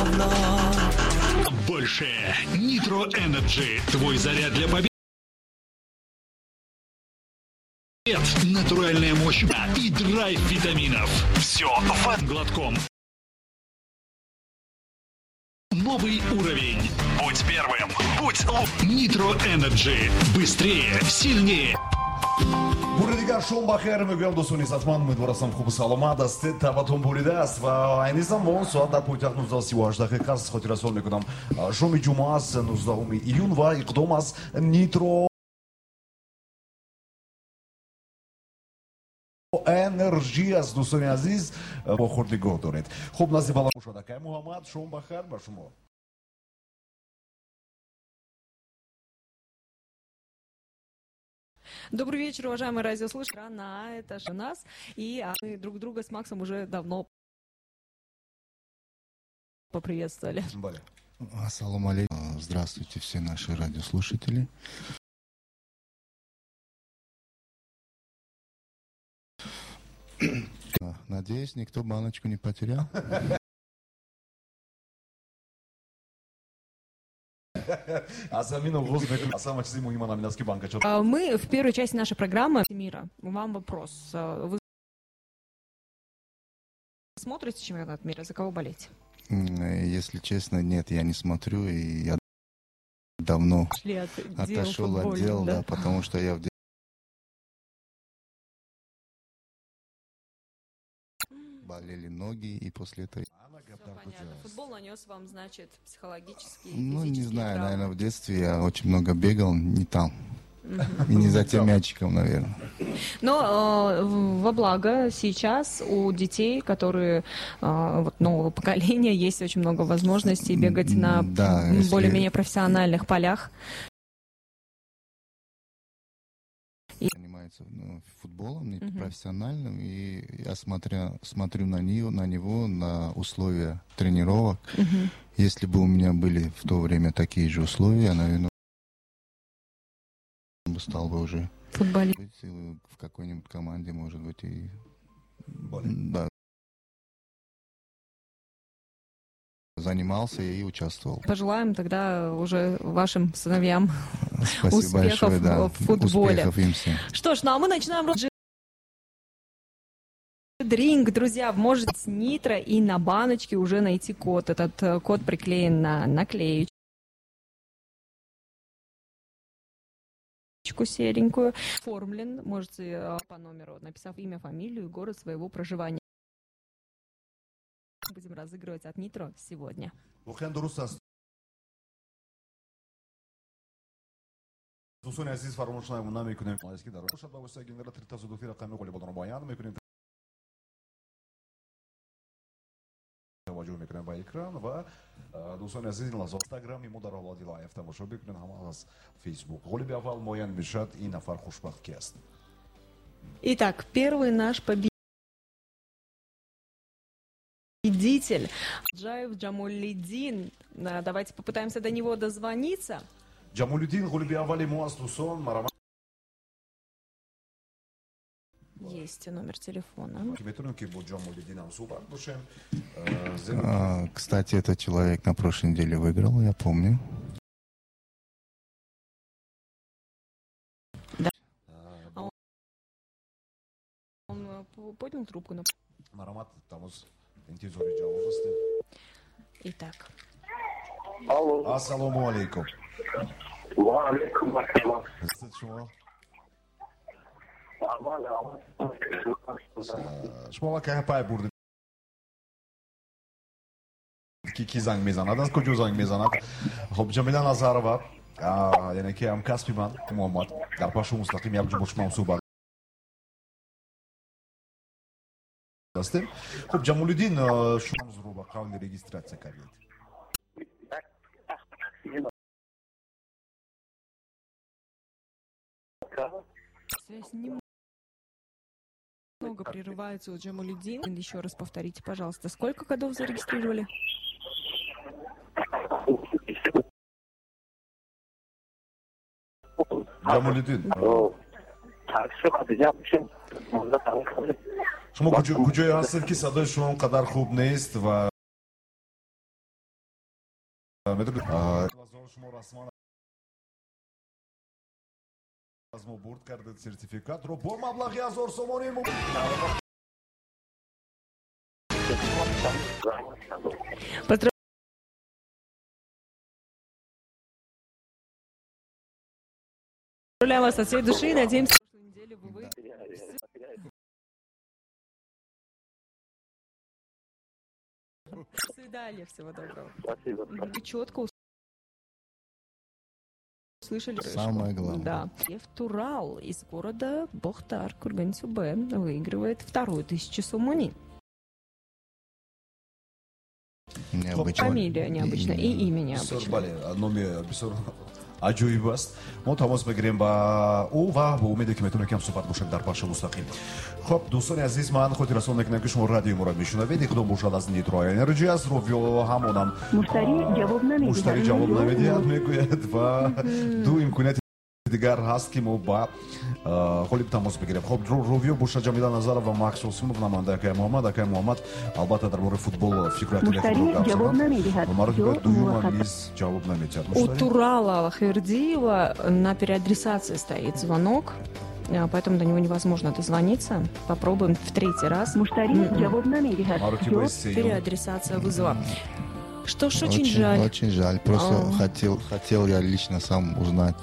равно. Больше Nitro Energy. Твой заряд для побед. Натуральная мощь и драйв витаминов. Все в одном глотком. Новый уровень. Будь первым. Будь лучшим. Nitro Energy. Быстрее, сильнее. Бори дигар шом бахайр мегӯям, дӯстони иззатманд, умедворастам, хубу саломат ҳастед, табатон буридааст ва айни замон соат дар пойтахт 19:38 дақиқа аст. Хотиррасон мекунам, шоми ҷумъа аст, 19 июн, ва иқдом аз Nitro Energy аст. Дӯстони азиз, бо худ нигоҳ доред. Хуб, назди бала бошад акай Муҳаммад. Шом бахайр ба шумо. Добрый вечер, уважаемые радиослушатели. Страна, это же нас. И мы друг друга с Максом уже давно поприветствовали. Бале. Ассаламу алейкум. Здравствуйте, все наши радиослушатели. Надеюсь, никто баночку не потерял. Аз ҳамин оғоз мекунем. Аз ҳама чизи муҳим ҳамин аст, ки банкача. Мы в первой части нашей программы мира. Вам вопрос. Вы смотрите чемпионат мира? За кого болеть? Если честно, нет, я не смотрю, и я давно Шли от дел отошел от футбольных, дел, да? да, потому что я в болели ноги, и после этого... Всё понятно. Футбол нанес вам, значит, психологические и Ну, не физические знаю, травмы. наверное, в детстве я очень много бегал, не там. И не за тем мячиком, наверное. Но во благо сейчас у детей, которые вот нового поколения, есть очень много возможностей бегать на Да, если более-менее профессиональных полях. Занимается, ну, футболом, не Мгм. профессиональным, и я смотрю на него, на условия тренировок. Мгм. Если бы у меня были в то время такие же условия, я, наверное, бы стал бы уже Футболист. быть, в какой-нибудь команде, может быть, и Бале. да, занимался и участвовал. Пожелаем тогда уже вашим сыновьям Спасибо успехов большое, да. в футболе. Успехов им всем. Что ж, ну а мы начинаем Drink, друзья, можете с Нитро и на баночке уже найти код. Этот код приклеен на наклеечку серенькую. Оформлен, можете по номеру, написав имя, фамилию и город своего проживания. Будем разыгрывать от Нитро сегодня. Воқеан дуруст аст. Дӯстони азиз, фаромӯш намекунем, ки дар бошад ба воситаи генератори тасодуфӣ рақами ғолибонро муайян мекунем. Таваҷҷӯҳ мекунем ба экран ва дӯстони азиз, ин лаҳза инстаграми мо дар ҳолати лайв тамошо бикунед, ҳама аз Фейсбук. Ғолиби аввал муайян мешавад, ин нафар хушбахт ки аст. Итак, первый наш победитель Джаев Джамолидин. Давайте попытаемся до него дозвониться. Ҷамолиддин ғолиби аввали мо аст, дӯстон, марама. Есть номер телефона. Ки метавонем, ки бо Ҷамолиддин ҳам суҳбат бошем. Зеро Кстати, этот человек на прошлой неделе выиграл, я помню. Да. Он поднял трубку. Но... Марҳамат, тамос, интизори ҷавоб ҳастем. Итак. Алло. Ассалому алайкум. Ва алейкум ассалом. Ҳастед шумо? Аввал, аввал. Шумо аллакай пай бурдед, ки ки занг мезанад, аз куҷо занг мезанад. Хуб, Ҷамила Назарова, яъне ки ҳамкасби ман Муҳаммад, дар пахшу мустақим якҷо бо шумо ҳам суҳбат ҳастем. Хуб, Ҷамолиддин, шумо ба қавли регистрация кардед. Связь немного прерывается у Джамалидина. Еще раз повторите, пожалуйста, сколько кодов зарегистрировали? Ҷамолиддин, шумо куҷое ҳастед, ки садои шумо он қадар хуб нест ва Медонед, шумо расман аз мо бурд кардед сертификатро бо маблағи 1000 сомонӣ. Поздравляем вас от всей души и надеемся, что прошлой неделе вы выиграете. До свидания, всего доброго. Спасибо. Вы четко услышали. Самое главное. Да. Лев Турал из города Бохтар, Курган-Тюбе, выигрывает вторую 1000 сомони. Необычно. Фамилия необычная и имя необычное. Бале, номи бисёр аҷоиб аст. Мо тамос мегирем ба ӯ ва бо умеде ки метавонем кам суҳбат бошем дар бахши мустақим. Хоб, дӯстони азиз, ман хотиррасон мекунам, ки шумо радиои моро мешунавед. Иқдом бошад аз Nitro Energy аст. Ровиё ҳамонам муштари ҷавоб намедиҳад, мегӯяд, ва ду имконияти дигар ҳаст, ки мо ба ғолиб тамос бигирем. Хоб, Ровиё бошад Ҷамила Назарова ва Макс Осимов, намояндаи акаи Муҳаммад. Акаи Муҳаммад албатта дар бораи футбол фикру ақидаи худро гап заданд. Маротиба дуюмам низ ҷавоб намедиҳад. У Турала Хвердиева на переадресации стоит звонок, поэтому до него невозможно дозвониться. Попробуем в третий раз. Переадресация вызова. Что ж, очень жаль. Очень жаль. Просто хотел я лично сам узнать,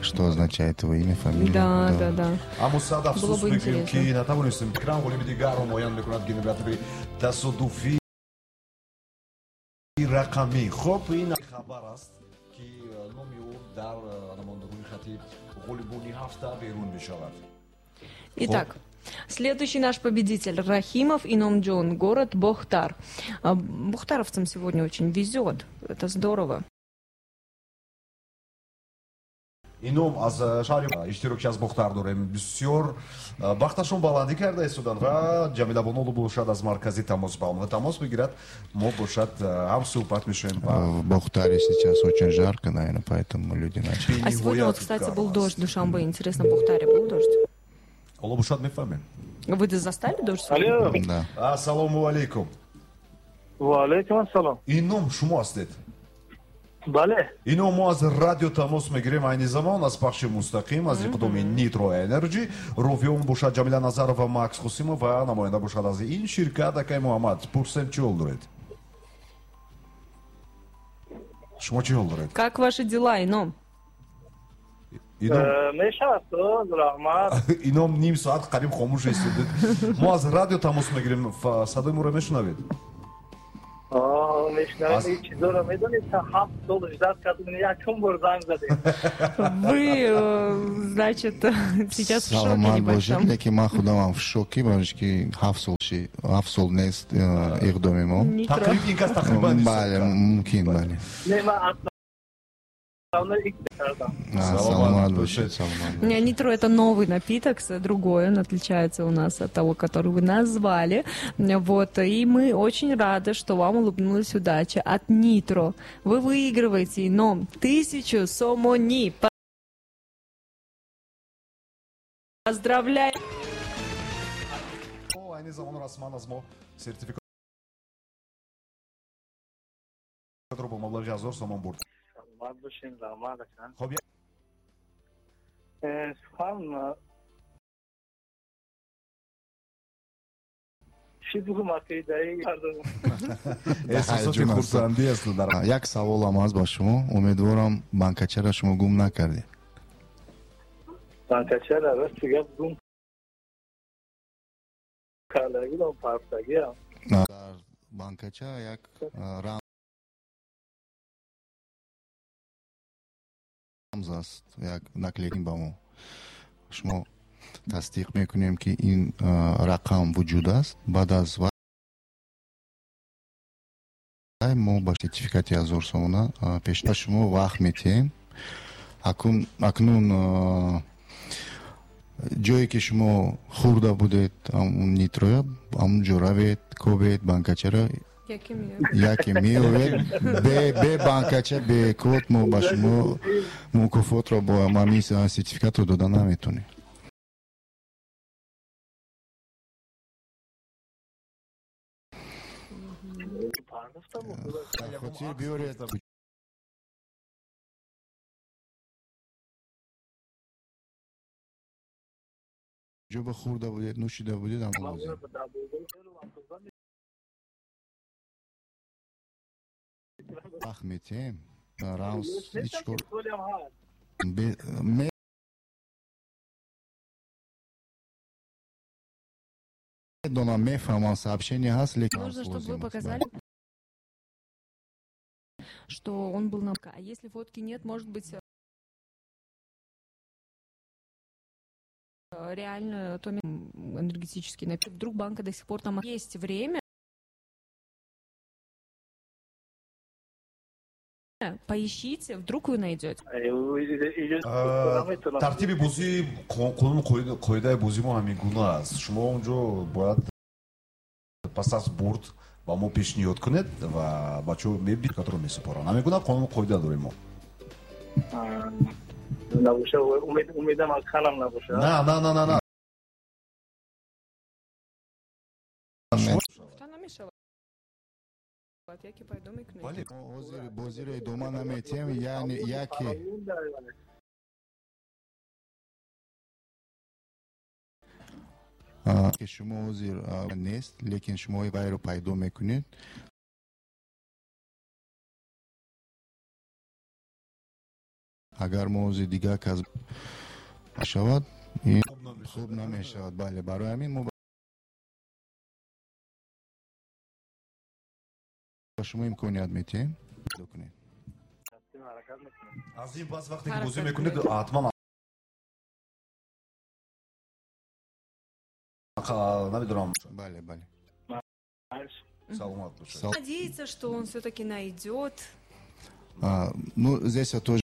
что означает его имя, фамилия. Да. Аммо сад Было афсӯс бы мекунем, ки интересно. натавонистем экран ғолиби дигарро муайян мекунад генератори тасодуфии рақамӣ. Хоб, ин хабар аст, ки номи ӯ дар ҳамон рӯйхати ғолибони ҳафта берун мешавад. Итак, следующий наш победитель Рахимов Иномджон, город Бохтар. Бохтаровцам сегодня очень везет. Это здорово. Ином аз шаҳри иштирокчи аз Бохтар дорем. Бисёр бахташон баландӣ карда истоданд ва Ҷамила Бонолу бошад аз маркази тамос ба онҳо тамос бигирад. Мо бошад ҳам суҳбат мешавем ба В Бохтаре сейчас очень жарко, наверное, поэтому люди начали. А сегодня вот, Бениҳоят кстати, гарм был аст. дождь в Душанбе. Интересно, в Бохтаре был дождь? Ҳоло бошад мефаҳмем. Вы застали дождь сегодня? Алло. Да. Ассалому алайкум. Ва алайкум ассалом. Ином шумо ҳастед? Бале. Ино мо аз радио тамос мегирем айни замон аз пахши мустақим аз иқдоми Nitro Energy. Ровиён бошад Ҷамила Назарова, Макс Қосимов ва намоянда бошад аз ин ширкат акаи Муҳаммад. Пурсем, чӣ ҳол доред? Шумо чӣ ҳол доред? Как ваши дела, Ином? Ином Мешавад, раҳмат. Ином ним соат қариб хомӯш истодед. Мо аз радио тамос мегирем. Садои моро мешунавед? Мешунавем. Ин чизоро медонед, та 7 сол ждать кардем, якум бор занг задем. Вы, значит, сейчас в шоке Саломат бошед, небольшом. лекин ман худамам в шоке, барои ки 7 сол нест иқдоми мо. Нитро. Тақриб ин кас тақрибан ҳисоб Бале, кард. мумкин, бале. Не, ман основной икс кардам. Саломат бошед, саломат Не, бошед. Нитро — это новый напиток, другой, он отличается у нас от того, который вы назвали. Вот, и мы очень рады, что вам улыбнулась удача от Нитро. Вы выигрываете, но 1000 сомони. Поздравляем! О, айни замон расман аз мо сертификатро бо маблағи 1000 сомон бурд. Саломат бошем, раҳмат ака. Хоб, Сухан чӣ бугум, акидаи кардам. Эҳсосоти Ҳаяҷон аст. хурсандӣ аст дар Як саволам аст ба шумо. Умедворам, банкачаро шумо гум накардед. Банкачара рости гап гум кардагидам, партагиам. Дар банкача як рамз аст, як наклейка ба мо. Шумо тасдиқ мекунем, ки ин рақам вуҷуд аст. Баъд аз вай мо ба сертификати 1000 сомона пеш ба шумо вақт метиҳем. Акнун ҷое ки шумо хӯрда будед ҳамун нитроя, ҳамун ҷо равед, кобед банкачаро, яке меовед. Бе банкача, бе код мо ба шумо мукофотро бо ҳамин сертификатро дода наметонем. Хотир биёред. Ҷоба хӯрда будед, нӯшида будед, ҳам лозим. Вақт метиҳем. Рамз ҳеҷ кор медонам, мефаҳмам, сообщение ҳаст, лекин нужно, чтобы вы показали, что он был на... А если фотки нет, может быть, реально то энергетический напиток. Вдруг банка до сих пор там есть время. Поищите, вдруг вы найдете. Тартиби бозӣ, қонун қоидаи бозӣ мо ҳамин гуна аст. Шумо онҷо бояд пас аз бурд ба мо пешниҳод кунед ва бачаҳо мебинанд, месупоранд. Ҳамин гуна қонун қоида дорем мо. Набоша, умедам аз халам набоша. На, на, на, на, на. Яке пайдо мекунед. Ҳозир бозиро идома наметиҳем, яъне яке ки шумо ҳозир нест, лекин шумо вайро пайдо мекунед. Агар мо ҳозир дигар кас шавад, ин хуб намешавад. Бале, барои ҳамин мо ба шумо имконият метиҳем. Кунед. Аз ин пас вақте ки бозӣ мекунед, ҳатман намедонам. Бале, бале. Саломат бошед. Надеяться, что он все-таки найдет. Ну, здесь я тоже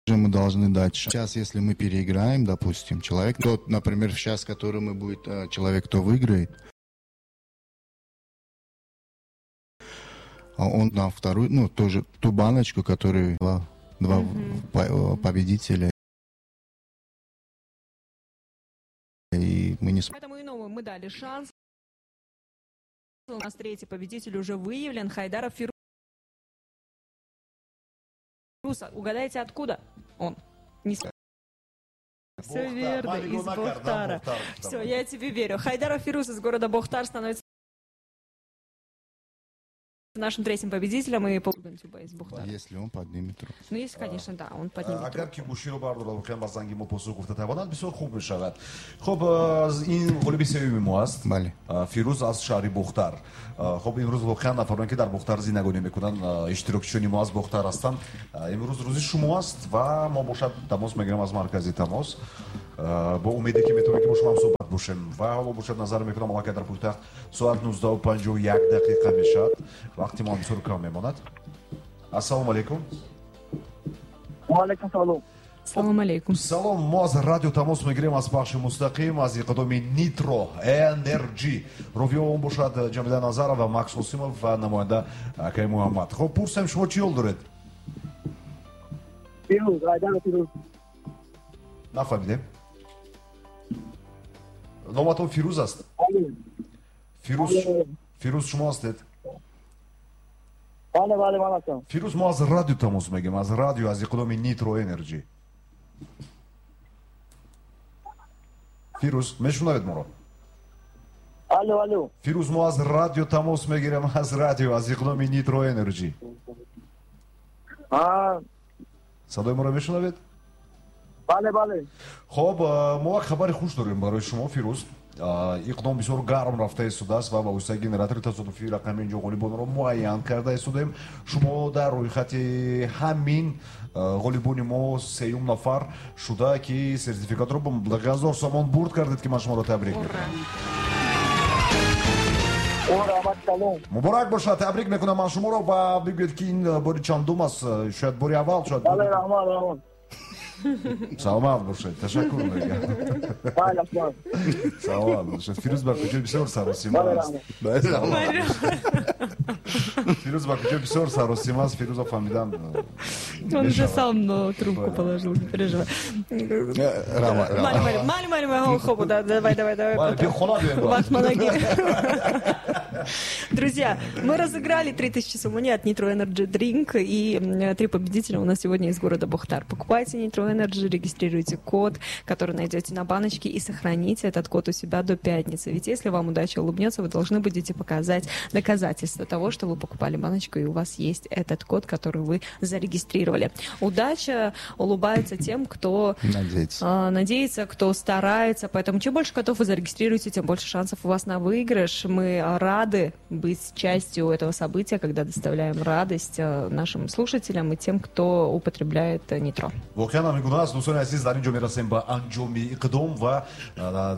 мы должны дать. Сейчас, если мы переиграем, допустим, человек, тот, например, сейчас, который мы будет, человек, кто выиграет, а он нам вторую, ну, тоже ту баночку, которую два победителя. И мы не... Поэтому иному мы дали шанс. У нас третий победитель уже выявлен. Хайдаров Фируз. Угадайте, откуда он? Не... Все верно, из Бохтара. Все, я тебе верю. Хайдаров Фируз из города Бохтар становится нашим третьим победителем и из Бохтара. Если он поднимет руку. Ну, если, конечно, да, он поднимет руку. Агар ки гӯширо бардорад, воқеан ба занги мо посух гуфта тавонад, бисёр хуб мешавад. Хуб, ин ғолиби сеюми мо аст. Бале. Фирӯз аз шаҳри Бохтар. Хуб, имрӯз воқеан нафароне ки дар Бохтар зиндагонӣ мекунанд, иштирокчиёни мо аз Бохтар ҳастанд. Имрӯз рӯзи шумо аст ва мо бошад тамос мегирем аз маркази тамос. Бо умеде ки метавонем ки бо шумо ҳам суҳбат бошем. Ва ҳоло бошад назар мекунам, аллакай дар пойтахт соат 19:51 дақиқа мешавад. Вақти мо бисёр кам мемонад. Ассалому алайкум. Ва алайкум салом. Салом алейкум. Салом, мо аз радио тамос мегирем аз пахши мустақим аз иқдоми Nitro Energy. Ровиё он бошад Ҷамила Назарова ва Макс Осимов ва намоянда акай Муҳаммад. Хуб, пурсем шумо чӣ ҳол доред? Фирӯз, Айдаров Фирӯз. Нафаҳмидем. Номатон Фирӯз аст? Фирӯз, Фирӯз шумо ҳастед? Бале, бале, ман ҳастам. Фирӯз, мо аз радио тамос мегирем, аз радио, аз иқдоми Nitro Energy. Фирӯз, мешунавед моро? Алло, алло. Фирӯз, мо аз радио тамос мегирем, аз радио, аз иқдоми Nitro Energy. Садои моро мешунавед? Бале, бале. Хуб, мо як хабари хуш дорем барои шумо, Фирӯз. Иқдом бисёр гарм рафта истодааст ва ба воситаи генератори тасодуфии рақами инҷо ғолибонро муайян карда истодаем. Шумо дар рӯйхати ҳамин ғолибони мо сеюм нафар шуда ки сертификатро бо маблағи 1000 сомон бурд кардед, ки ман шуморо табрик мекунам. Муборак бошад, табрик мекунам ман шуморо ва бигӯед ки ин бори чандум аст, шояд бори аввал, шояд Бале, раҳмат, раҳмат. Саломат бошед, ташаккур мегӯям. Саломат бошед. Фирӯз ба куҷо бисёр саросима аст. Фирӯз ба куҷо бисёр саросима аст. Фирӯза фаҳмидан. Он уже сам трубку положил, не переживай. Мали, мали, мали, хоб, давай, давай, давай. Друзья, мы разыграли 3000 сомони от Nitro Energy Drink, и 3 победителя у нас сегодня из города Бохтар. Покупайте Nitro Energy, регистрируйте код, который найдете на баночке, и сохраните этот код у себя до пятницы. Ведь если вам удача улыбнется, вы должны будете показать доказательства того, что вы покупали баночку, и у вас есть этот код, который вы зарегистрировали. Удача улыбается тем, кто надеется, кто старается. Поэтому чем больше кодов вы зарегистрируете, тем больше шансов у вас на выигрыш. Мы рады быть частью этого события, когда доставляем радость нашим слушателям и тем, кто употребляет нитро. Воқеан ҳамин гуна аст, дӯстони азиз, дар ин ҷо мерасем ба анҷоми иқдом ва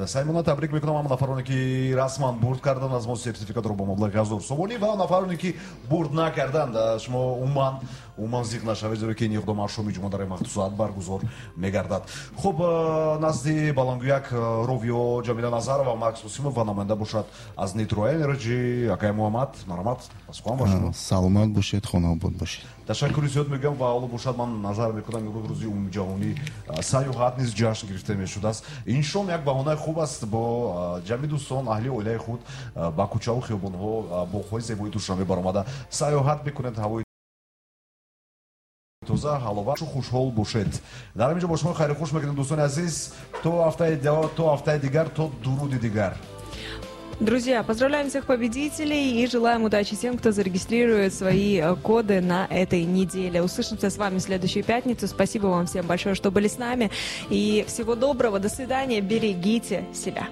саймона табрик мекунам ҳама нафароне, ки расман бурд карданд аз мо сертификатро бо маблағи 1000 сомонӣ, ва нафароне, ки бурд накарданд, шумо умуман зиқ нашавед, зеро ки ин иқдом ҳар шоми ҷумъа дар ин вақту соат баргузор мегардад. Хуб, назди баландгӯяк ровиё Ҷамила Назарова, Макс Усимов ва намоянда бошад аз Nitro Energy акай Муҳаммад. Марҳамат, сухан ба шумо. Саломат бошед, хонаобод бошед. Ташаккури зиёд мегӯям ва ҳоло бошад ман назар мекунам, имрӯз рӯзи умумиҷаҳонӣ сайёҳат низ ҷашн гирифта мешудааст. Ин шом як баҳонаи хуб аст бо ҷамъи дӯстон, аҳли оилаи худ ба кӯчаву хиёбонҳо, боғҳои зебои Душанбе баромада сайёҳат мекунед, ҳавои тоза, ҳаловашу хушҳол бошед. Дар ҳамин ҷо бо шумо хайру хуш мекунем, дӯстони азиз, то ҳафтаи дигар, то дуруди дигар. Друзья, поздравляем всех победителей и желаем удачи тем, кто зарегистрирует свои коды на этой неделе. Услышимся с вами в следующую пятницу. Спасибо вам всем большое, что были с нами. И всего доброго, до свидания, берегите себя.